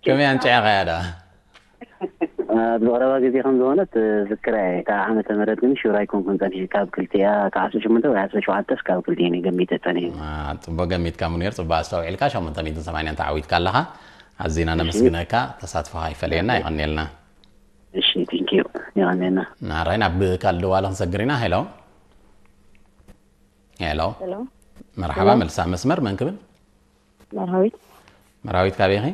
ከመይ ኣንጭዕኻያ ዳ? ኣብ ዝቐረባ ግዜ ከም ዝኾነት ዝክራ እየ። ካብ ዓመተ ምህረት ግን ሹር ኣይኮንኩን ጸኒሐ። ካብ ክልቲኣ ካብ ዓሰርተ ሸሞንተ ወይ ዓሰርተ ሸውዓተ እስካብ ክልቲኤን እየ ገሚተ ጸኒሐ። ጽቡቅ ገሚትካ ሙኒር፣ ጽቡቅ ኣስተውዒልካ። ሸሞንተ ሚእትን ሰማንያን ተዓዊትካ ኣለኻ። ኣዚና ነመስግነካ። ተሳትፎኻ ይፈለየና። ይቐንየልና። እሺ፣ ቴንኪዩ። ይቐንየልና። ናራይ ናብ ካልእ ደዋሊ ክንሰግር ኢና። ሄሎ ሄሎ። መርሓባ። መልሳ መስመር መን ክብል? መርሃዊት። መርሃዊት ካበይ ኢኺ?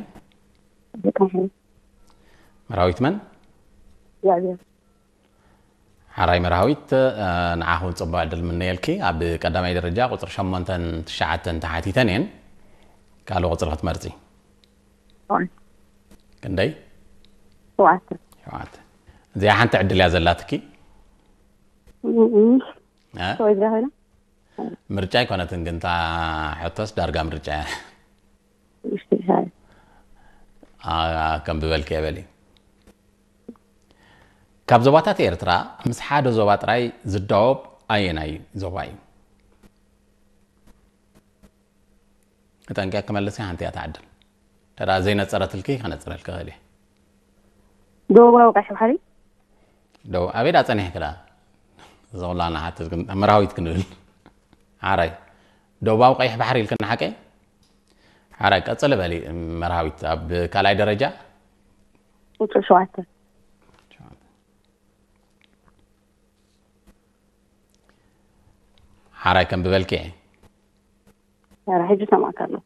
መርሃዊት መን? ሓራይ መርሃዊት፣ ንዓኹም ጽቡቕ ዕድል ምነየልኪ። ኣብ ቀዳማይ ደረጃ ቁጽሪ ሸሞንተን ትሽዓተን ተሓቲተን እየን። ካልእ ቁጽሪ ክትመርጺ። ክንደይ? ሸውዓተ። እዚኣ ሓንቲ ዕድል እያ ዘላትኪ። ምርጫ ኣይኮነትን ግን እታ ሕቶስ ዳርጋ ምርጫ እያ። ከንብበልኪ እየ በሊ። ካብ ዞባታት ኤርትራ ምስ ሓደ ዞባ ጥራይ ዝዳወብ ኣየናይ ዞባ እዩ? ተጠንቂቕኪ መልሲ፣ ሓንቲ እያ ትዓድል። ተዳ ዘይነጸረትልኪ ከነጽረልኪ እኽእል እየ። ደቡባዊ ቀይሕ ባሕሪ። ደው ኣበይ ዳ ጸኒሕኪ ዳ? ዘውላና ሓትት ግን መርሃዊት ክንብል። ሓራይ ደቡባዊ ቀይሕ ባሕሪ ኢልክና ሓቀይ? ሓራይ ቀጽሊ በሊ መርሃዊት ኣብ ካልኣይ ደረጃ። ቁጽሪ ሸውዓተ። ሓራይ ከም ብበልኪ እየ። ኧረ ሕጂ ሰማዕካ ኣለኹ።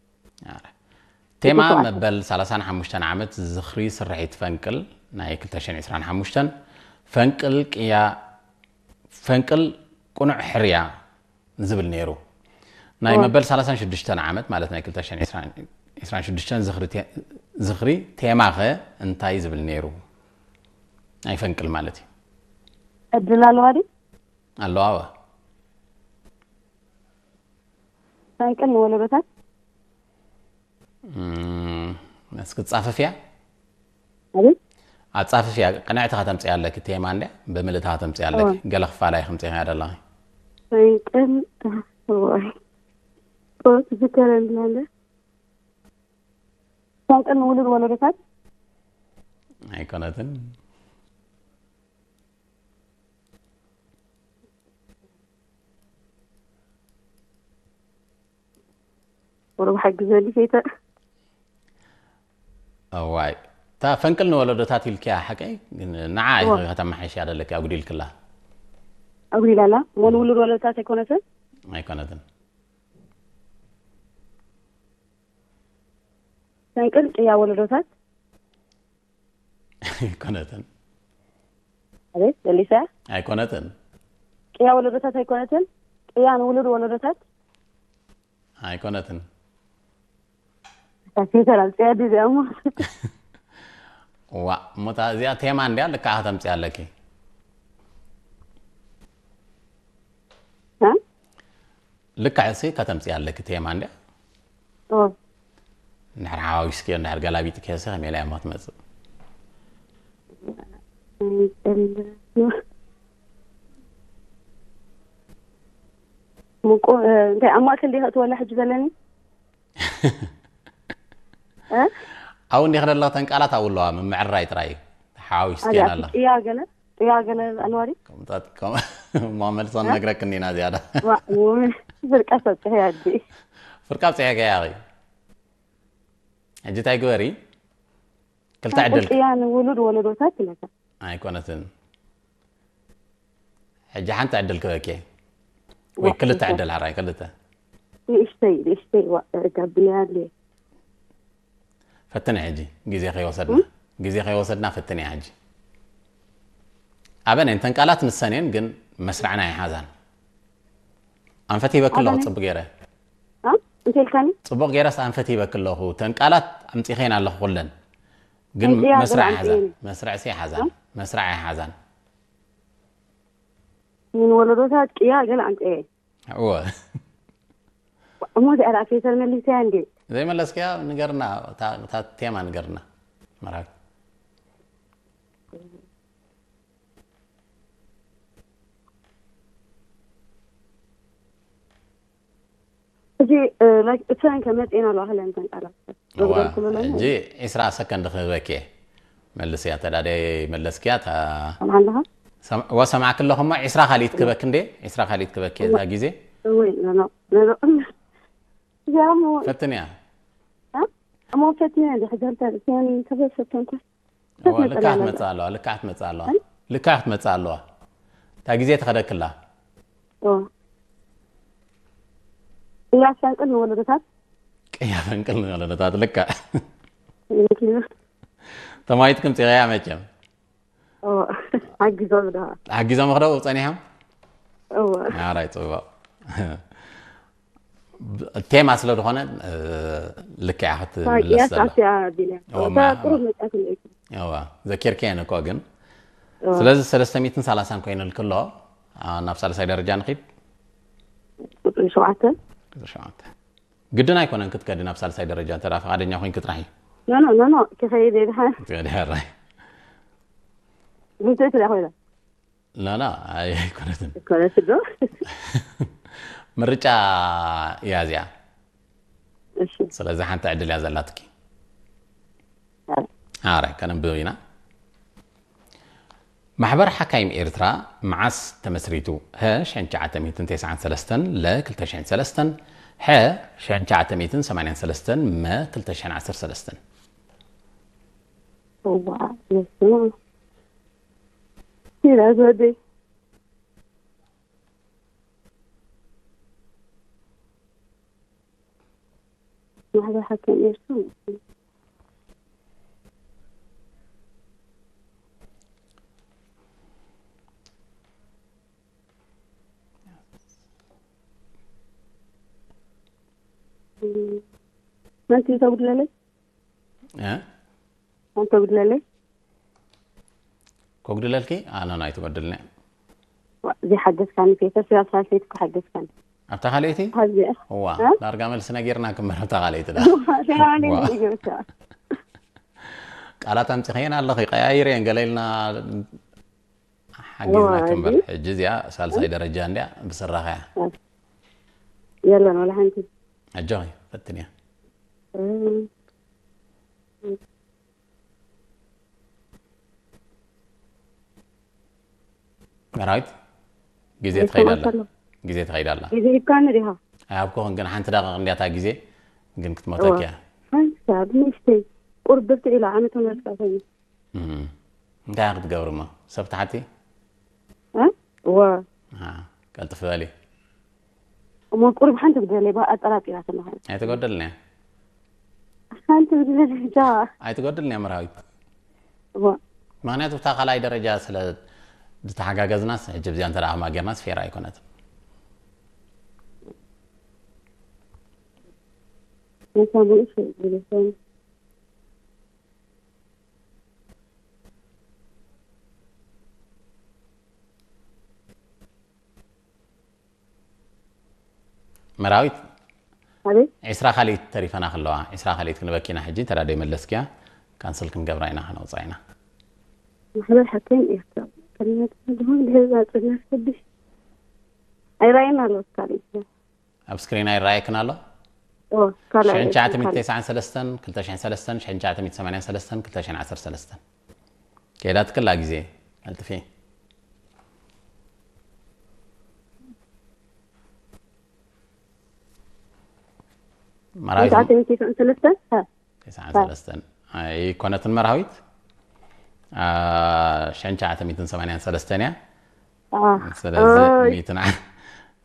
ቴማ መበል ሰላሳን ሓሙሽተን ዓመት ዝኽሪ ስርሒት ፈንቅል ናይ ክልተ ሽሕን ዕስራን ሓሙሽተን ፈንቅል ቅያ ፈንቅል ቅኑዕ ሕርያ ዝብል ነይሩ። ናይ መበል ሰላሳን ሽዱሽተን ዓመት ማለት ናይ ክልተ ሽሕን ዕስራን ሽዱሽተን ዝኽሪ ቴ- ዝኽሪ ቴማኸ እንታይ ዝብል ነይሩ? ናይ ፈንቅል ማለት እዩ። ዕድል ኣለዋ ድዩ? ኣለዋ። ፈንቅል ንወለዶታት እስኪ ጻፈፍያ ኣቤት ኣጻፈፍያ ቅንዕቲ ከተምጽያ ኣለኪ። ቴማ እንድያ ብምልእታ ከተምጽያ ኣለኪ። ገለ ክፋላይ ከምጽያ ደለኺ። ፈንቅል ወይ ቆት ዝከረልና እንደ ፈንቅል ንውሉድ ወለዶታት ኣይኮነትን። ወረብ ሓግዘኒ ሴተ እዋይ እታ ፈንቅል ንወለዶታት ኢልኪያ ሓቀይ ግን ንዓ ኢኺ ከተመሓይሽያ ደለኪ ኣጉዲልክላ ኣጉዲላላ እሞ ንውሉድ ወለዶታት ኣይኮነትን ኣይኮነትን ፈንቅል ቅያ ወለዶታት ኣይኮነትን ኣቤት ደሊሳ ኣይኮነትን ቅያ ወለዶታት ኣይኮነትን ቅያ ንውሉድ ወለዶታት ኣይኮነትን ታፊተራ ጽያ ዲዚያ እሞ ዋ እሞታ እዚኣ ቴማ እንድያ ልክዓ ከተምፅያ ኣለኪ እ? ልክዕ ሲ ከተምፅያ ኣለኪ ቴማ እንድያ ኦ እንድሕር ሓዋዊስኪዮ እንድሕር ገላቢጥኪዮ ሲ ከመይ ኢላ እሞ ትመፅእ ምቁ እንታይ ኣብ ማእከል ዲኻ እትወላ ሕጂ ዘለኒ እ? ኣብኡ እንዲኺ ደለኽተን ቃላት ኣብኡ ኣለዋ ምምዕርራይ ጥራይ እዩ ሓዋዊስኪየን ኣለኺ ጥያ ገለ ጥያ ገለ ኣለዋ ድዩ እሞ መልሶ ነግረክኒ ኢና ዝያዳ ፍርቃ ሰብፅሐ ኣዲ ፍርቃ ብፅሐ ገያኺ ሕጂ እንታይ ግበሪ ክልተ ዕድል ጥያ ንውሉድ ወለዶታት ይለካ ኣይኮነትን ሕጂ ሓንቲ ዕድል ክበኪ ወይ ክልተ ዕድል ሓራይ ክልተ ንእሽተይ ንእሽተይ ጋብልያ ኣለ ፈትነ ሕጂ ግዜ ከይወሰድና ግዜ ከይወሰድና ፈትነ ሕጂ ኣበነ እንተን ቃላት ንሰን እየን ግን መስርዕና ይሓዛን ኣንፈት ሂበኪ ኣለኹ ጽቡቅ ገይረ እንተልካኒ ጽቡቅ ገይረስ ኣንፈት ሂበኪ ኣለኹ ተን ቃላት ኣምጺኸን ኣለኹ ኩለን ግን መስርዕ ይሓዛን መስርዕ ሲ ይሓዛን መስርዕ ይሓዛን ምን ወለዶታት ቅያ ገለ ኣምጽኤ እወ እሞ እዚኣ ደኣ ፌሰር መሊሰያ እንዴ ዘይመለስክያ ንገርና እታ ቴማ ንገርና መርሃብ እዚ እተን ከመፅኤን ኣለዋ ክለን ተንቃላት እዋ፣ ዝገበርኩሉ ኣለኹ። ሕጂ ዒስራ ሰከንድ ክህበኪ እየ። መልስያ፣ ተዳደ መለስክያ፣ እታ ሰምዓ ኣለኻ? ሰም-፣ እዋ፣ ሰማዕኪ ኣለኹ እሞ፣ ዒስራ ካልኢት ክህበኪ እንዴ? ዒስራ ካልኢት ክህበኪ እዛ ግዜ? እወ፣ ኖ፣ ኖ፣ ኖ፣ ኖ። እዚኣ እሞ ፈትንያ። እ? እሞ ፈትንያ እንዴ፣ ሕጂ ኣንተ፣ እዚኣን ተፈሰተንኩ። እዋ፣ ልክዓ ትመጽእ ኣለዋ፣ ልክዓ ትመጽእ ኣለዋ። እ? ልክዓ ክትመጽእ ኣለዋ። እታ ግዜ ትኸደክላ። ኦ። ቅያ ፈንቅል ንወለዶታት። ቅያ ፈንቅል ንወለዶታት፣ ልክዕ። Thank you። ተማሂትኩም ጽቕያ መቸም። ኦ፣ ሓጊዞም ዶ? ሓጊዞም ክደው ጸኒሖም? እወ። ኣራይ፣ ጽቡቕ። ቴማ ስለ ዝኾነ፣ እ፣ ልክዕ እያ ክትምለስ ቅያስ ዘላ። ኣስያ ቢልያ። እወ፣ እታ ማ-፣ ቁሩብ መጻእትለይ። እወ፣ ዘኪርክየን እኮ ግን። እወ። ስለዚ ሰለስተ ሚእትን ሰላሳን ኮይኑልኪ ኣሎ። ኣ፣ ናብ ሳልሳይ ደረጃ ንኺድ። ቁጽሪ ሸውዓተ። ቁጽሪ ሸውዓተ። ግድን ኣይኮነን ክትከዲ ናብ ሳልሳይ ደረጃ፣ እንተ ደኣ ፍቓደኛ ኮይንኪ ጥራሕ እዩ። ኖ፣ ኖ፣ ኖ፣ ኖ፣ ክኸይድ እየ ድሓን። ትከዲ፣ ኣራይ። ብልጽቲ እያ ኮይና። ላ፣ ላ፣ ኣይ-፣ ኣይኮነትን። ኣይኮነትን ዶ? ምርጫ እያ እዚኣ። እሺ። ስለዚ ሓንቲ ዕድል እያ ዘላትኪ። ኣረ። ኣረ፣ ከነንብብ ኢና። ማሕበር ሓካይም ኤርትራ መዓስ ተመስሪቱ? ሀ፣ ሽሕን ትሽዓተ ሚእትን ተስዓን ሰለስተን፣ ለ፣ ክልተ ሽሕን ሰለስተን፣ ሐ፣ ሽሕን ትሽዓተ ሚእትን ሰማንያን ሰለስተን፣ መ፣ ክልተ ሽሕን ዓሰርተ ሰለስተን። እዋ፣ የስማ። ይላ ዝወደይ። ማሕበር ሓካይም ኤርትራ። መን ተጉድለለይ? እ? መን ተጉድለለይ? ከጉድለልኪ? ኣነ ኣይትጎድልኒ። ዋ፣ ዘይሓገዝካኒ ፌተስ፣ ያው ሳልሰይቲ እኮ ሓገዝካኒ። ኣብታ ካልኣይቲ? ኣብዚኣ። እዋ፣ እ? ዳርጋ መልሲ ነጊርና ክምበር ኣብታ ካልኣይቲ ዳ። እዋ፣ ተባለ ዋ። ይገብታ። ቃላት ኣምጺኸየን ኣለኺ፣ ቀያይረየን ገለ ኢልና ሓጊዝና እዋ፣ ክምበር። እዚ? ሕጂ እዚኣ ሳልሳይ ደረጃ እንድያ፣ ብስራኻ እያ። የለን፣ ወላ ሓንቲ። ኣጆኺ፣ ፈትንያ። እም። መራዊት፣ ግዜ ትኸይድ ኣላ። ግዜ ትኸይድ ኣላ። ግዜ ሂብካኒ ዲኻ? ኣይሃብኩኽን፣ ግን ሓንቲ ደቂቕ እንድያ እታ ግዜ፣ ግን ክትመተኪ እያ። ሓንሳብ ንእሽተይ ቁርብቲ ኢላ ዓመት መርቃ ኮይኑ። እም። እንታይ ክትገብሪ እሞ? ሰብ ትሓቲ? እ? እወ። አ፣ ቀልጥፍ በሊ። እሞ ቁሩብ ሓንቲ ክትበለይ፣ ባ-፣ ኣጠራጢራትኒ ኸዓ። ኣይትጎድልን እያ። ሓንቲ ክትበለይ፣ ዳ። ኣይትጎድልን እያ መርሃዊት። እወ። ምኽንያቱ፣ ብታ ካልኣይ ደረጃ ስለ ዝተሓጋገዝናስ፣ ሕጂ ብዚኣ እንተ ደኣ ከማ ጌርናስ ፌር ኣይኮነትን። ነታ ብእሱ ዝብሎ ሰብ። መራዊት፣ ኣቤት። ዒስራ ካልኢት ተሪፈና ከለዋ፣ ዒስራ ካልኢት ክንበኪና ሕጂ፣ እንተ ደኣ ደይመለስክያ፣ ካንስል ክንገብራ ኢና፣ ከነውጽኣ ኢና። ማሕበር ሓካይም ኤርትራ፣ ከልመት ድሆን ድህዛ ጽድና ሰብሽ። ኣይራይና ኣሎ፣ ካልእ። ኣብ ስክሪን ኣይረኣየክን ኣሎ? ኦ፣ ካልኣይ ሽሕን ትሽዓተ ሚእትን ተስዓን ሰለስተን፣ ክልተ ሽሕን ሰለስተን፣ ሽሕን ትሽዓተ ሚእትን ሰማንያን ሰለስተን፣ ክልተ ሽሕን ዓሰርተ ሰለስተን። ከይዳትክላ ግዜ፣ ቀልጥፊ። መራዊት ትሽዓተ ሚእትን ተስዓን ሰለስተን? ሃ። ተስዓን ሰለስተን ኣይኮነትን መርሃዊት? አ፣ ሽሕን ትሽዓተ ሚእትን ሰማንያን ሰለስተን እያ። አ። ስለዚ ኦይ። ሚእትን ዓ-፣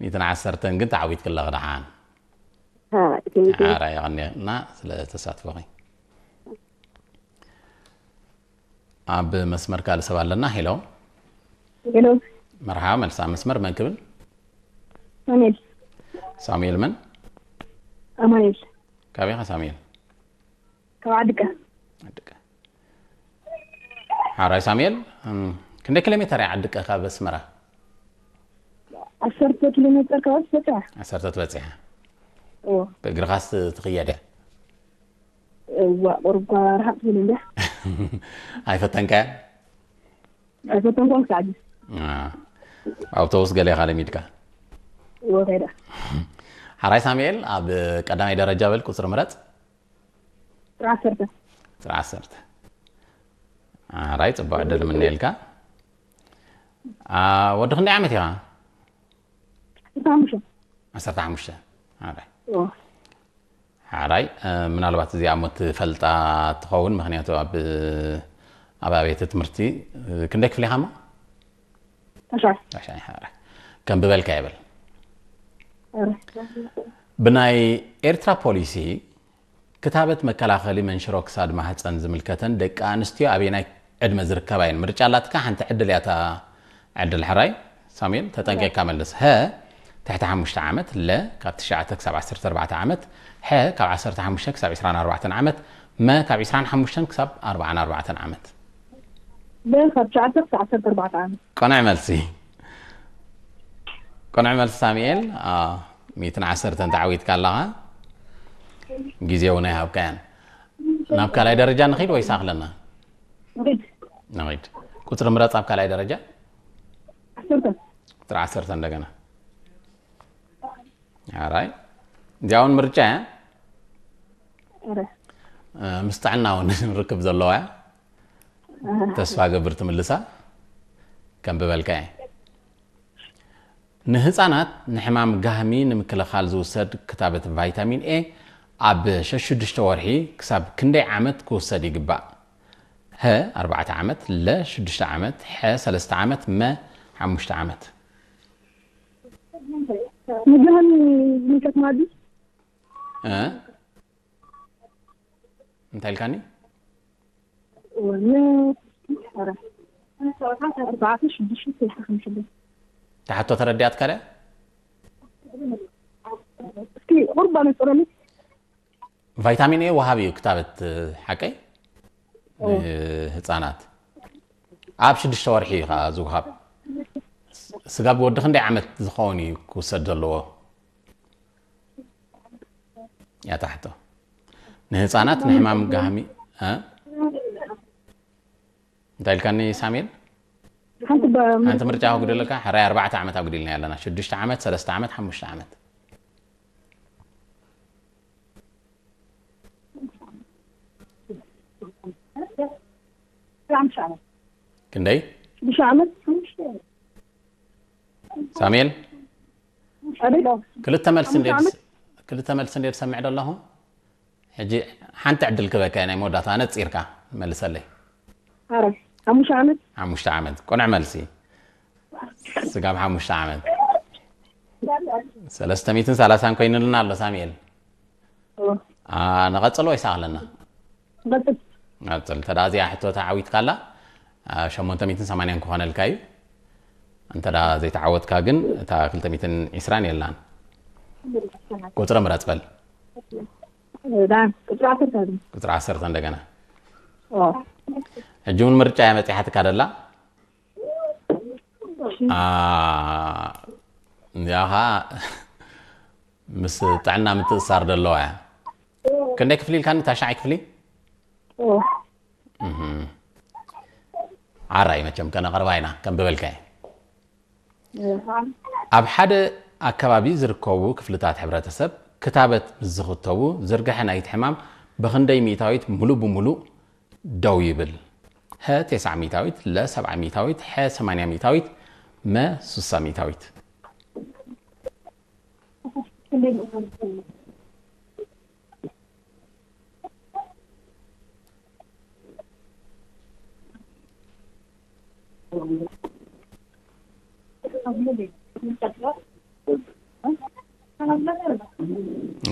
ሚእትን ዓሰርተን ግን ተዓዊትክላ ደሓን። ሃ፣ thank you። ሓራ የቐንየልና ስለ ተሳትፎኺ። ኣብ መስመር ካልእ ሰብ ኣለና። ሄሎ። ሄሎ። መርሓባ፣ መልሳ መስመር መን ክብል? ሳሙኤል። ሳሙኤል መን? ኣማኑኤል። ካበይ ኢኻ ሳሙኤል? ካብ ዓድቀ። ዓድቀ። ሓራይ ሳሙኤል፣ እም፣ ክንደይ ኪሎ ሜተር እያ ዓድቀ ካብ ኣስመራ? ዓሰርተ ኪሎ ሜተር ካብ በጺሓ። ዓሰርተ ትበጺሓ። እዎ። ብእግርኻስ ትኽየድ እያ? እዋ፣ ቁሩብ እኳ ርሓቕ ትብል እንድያ። ኣይፈተንካያን? ኣይፈተንኩን ክሳዕ ሕጂ። አ፣ ኣውቶቡስ ገለ ኢኻ ለሚድካ? እዎ፣ ከይደ። ሓራይ ሳሙኤል፣ ኣብ ቀዳማይ ደረጃ በል ቁጽሪ ምረጽ። ጥሪ ዓሰርተ። ጥሪ ዓሰርተ። ኣራይ፣ ጽቡቕ ዕድል ምነየልካ። አ፣ ወዲ ክንደይ ዓመት ኢኻ? ዓሰርተ ሓሙሽተ። ዓሰርተ ሓሙሽተ። ኣራይ። ኦ። ሓራይ፣ እ፣ ምናልባት እዚኣ እሞ ትፈልጣ ትኸውን፣ ምኽንያቱ ኣብ፣ ኣብ ኣብያተ ትምህርቲ፣ እ፣ ክንደይ ክፍሊ ኢኻ እሞ? ታሽዓይ። ታሽዓይ፣ ሓራይ። ከም ብበልካ ይበል። ኣረ። ብናይ ኤርትራ ፖሊሲ ክታበት መከላኸሊ መንሽሮ ክሳድ ማህፀን ዝምልከተን ደቂ ኣንስትዮ ኣበየናይ ዕድመ ዝርከባ እየን? ምርጫ ኣላትካ፣ ሓንቲ ዕድል እያ እታ ዕድል። ሕራይ ሳሙኤል፣ ተጠንቂቕካ መልስ። ሀ ትሕቲ ሓሙሽተ ዓመት፣ ለ ካብ ትሽዓተ ክሳብ ዓሰርተ ኣርባዕተ ዓመት፣ ሐ ካብ ዓሰርተ ሓሙሽተ ክሳብ ዕስራን ኣርባዕተን ዓመት፣ መ ካብ ዕስራን ሓሙሽተን ክሳብ ኣርባዓን ኣርባዕተን ዓመት። ለ ካብ ትሽዓተ ክሳብ ዓሰርተ ኣርባዕተ ዓመት። ቅኑዕ መልሲ። ቅኑዕ መልሲ ሳሙኤል። አ፣ ሚእትን ዓሰርተን ተዓዊትካ ኣለኻ። ግዜ እውን ኣይሃብካያን። ናብ ካልኣይ ደረጃ ንኺድ ወይስ ኣኽለና? ንኺድ። ንኺድ። ቁጽሪ ምረጽ ኣብ ካልኣይ ደረጃ። ዓሰርተ። ቁጽሪ ዓሰርተ እንደገና። ኣራይ። እዚኣ እውን ምርጫ እያ። ኣረ። እ፣ ምስ ጥዕና እውን ርክብ ዘለዋ እያ። ኣረ። ተስፋ ገብር ትምልሳ። ከም ብበልካ እየ። ንህጻናት ንሕማም ጋህሚ ንምክልኻል ዝውሰድ ክታበት ቫይታሚን ኤ ኣብ ሸሽዱሽተ ወርሒ ክሳብ ክንደይ ዓመት ክውሰድ ይግባእ? ሀ ኣርባዕተ ዓመት፣ ለ ሽዱሽተ ዓመት፣ ሐ ሰለስተ ዓመት፣ መ ሓሙሽተ ዓመት። ንጋህሚ ዝምልከት ማለት ድዩ? እ? እንታይ ኢልካኒ? ወ-፣ ነ-፣ ኧረ። ኣርባዕተ፣ ሽዱሽተ፣ ሰለስተ፣ ሓሙሽተ። እታ ሕቶ ተረዲኣትካ ድያ? እስኪ ቁሩብ ኣነጽረኒ። ቫይታሚን ኤ ወሃቢ እዩ ክታበት፣ ሓቀይ? ኦ። ንህፃናት። ኣብ ሽዱሽተ ወርሒ እዩ ከዓ ዝወሃብ። ስጋብ ወዲ ክንደይ ዓመት ዝኸውን እዩ ክውሰድ ዘለዎ? እያ እታ ሕቶ። ንህፃናት ንሕማም ጋህሚ፣ እ? እንታይ ኢልካኒ ሳሙኤል? ሓንቲ በ-፣ ሓንቲ ምርጫ ከጉድለካ፣ ሕራይ ኣርባዕተ ዓመት ኣጉዲልና ኣለና። ሽዱሽተ ዓመት፣ ሰለስተ ዓመት፣ ሓሙሽተ ዓመት። ሓሙሽተ ዓመት። ክንደይ? ሽዱሽተ ዓመት። ሳሙኤል? ኣቤት። ክልተ መልሲ ሓሙሽተ እንደ ዓመት? ክልተ መልሲ እንደ ዝሰምዕ ዘለኹ? ሕጂ ሓንቲ ዕድል ክበካ ናይ መወዳእታ ነፂርካ መልሰለይ። ኣረ፣ ሓሙሽተ ዓመት። ሓሙሽተ ዓመት። ቅኑዕ መልሲ። ስጋብ ሓሙሽተ ዓመት። ሰለስተ ሚእትን ሰላሳን ኮይኑልና ኣሎ ሳሙኤል። ኦ። አ፣ ንቐጽል ወይስ ኣለና? ንቐጽል። ንቐጽል። እንተ ደኣ እዚኣ ሕቶ ተዓዊትካላ፣ አ፣ ሸሞንተ ሚእትን ሰማንያን ክኾነልካ እዩ። እንተ ደኣ ዘይተዓወትካ ግን እታ ክልተ ሚእትን ዕስራን የላን። ቁጽሪ ምረጽ በል። ዳ፣ ቁጽሪ ዓሰርተ። ቁጽሪ ዓሰርተ እንደገና። ኦ። ሕጂ እውን ምርጫ እያ መጺሓትካ ደላ። እሺ። አ፣ እዚኣ ኸዓ ምስ ጥዕና ምትእሳር ደለዋ እያ። ክንደይ ክፍሊ ኢልካኒ? ታሽዓይ ክፍሊ? ኦ። እህ። ዓራይ መቸም ከነቕርባ ኢና፣ ከም ዝበልካዮ። እህ። ኣብ ሓደ ኣከባቢ ዝርከቡ ክፍልታት ሕብረተሰብ ክታበት ምስ ዝኽተቡ፣ ዝርግሐ ናይቲ ሕማም ብኽንደይ ሚእታዊት ሙሉእ ብሙሉእ ደው ይብል? ሀ፣ ተስዓ ሚእታዊት፣ ለ፣ ሰብዓ ሚእታዊት፣ ሐ፣ ሰማንያ ሚእታዊት፣ መ፣ ስሳ ሚእታዊት።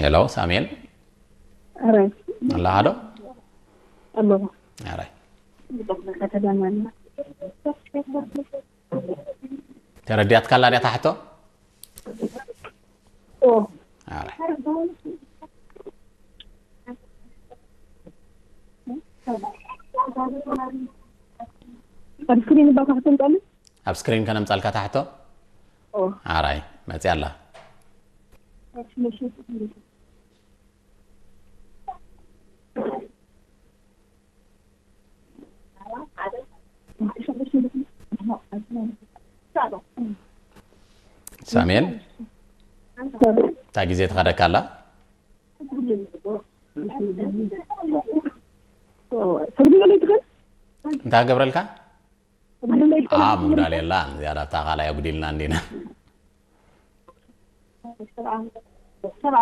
ሄሎ፣ ሳሙኤል። ኣረ። ኣለኻ ዶ? ኣለኹ። ኣረ። ተረዲኣትካላ ድያ እታ ሕቶ? ኦ። ኣረ። ኣብ ስክሪን እባ ካሕተምጻለይ? ኣብ ስክሪን ከነምጻልካ እታ ሕቶ? ኦ። ኣራይ፣ መጺኣ ኣላ። ሳሙኤል፣ እታ ግዜ ትኸደካ ኣላ? እንታይ ገብረልካ? ኣ ምጉዳል የላን። ዝያዳ ኣብታ ካልኣይ ኣጉዲልና እንዲና።